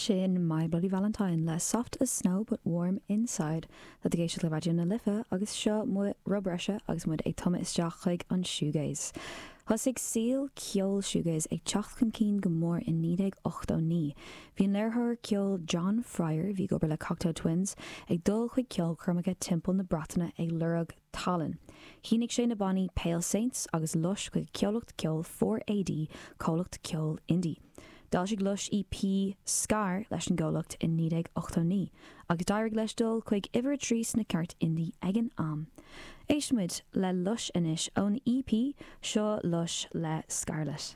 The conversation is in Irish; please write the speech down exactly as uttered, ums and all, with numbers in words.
Sin My Bloody Valentine le Soft as Snow but Warm Inside tá tú ag éisteacht le Raidió na Life agus seo rud breise agus muid ag tumadh isteach chuig an shoegaze. Thosaigh saol ceol shoegaze ag teacht chun cinn go mór in naoi déag ochtó naoi. Bhí an léiritheoir ceoil John Fryer, a bhí ag obair le Cocteau Twins, ag dul chuig ceolchoirmeacha timpeall na Breataine ag lorg tallann. Shínigh sé na bannaí Pale Saints agus Lush chuig comhlacht ceoil four AD, comhlacht ceoil indie. D'fhoilsigh Lush EP Scar leis an gcomhlacht in naoi déag ochtó naoi, agus d'éirigh leis dul chuig uimhir a trí sna cairrt indie ag an am. Éistfimid le Lush anois ón EP seo Lush le Scarlet.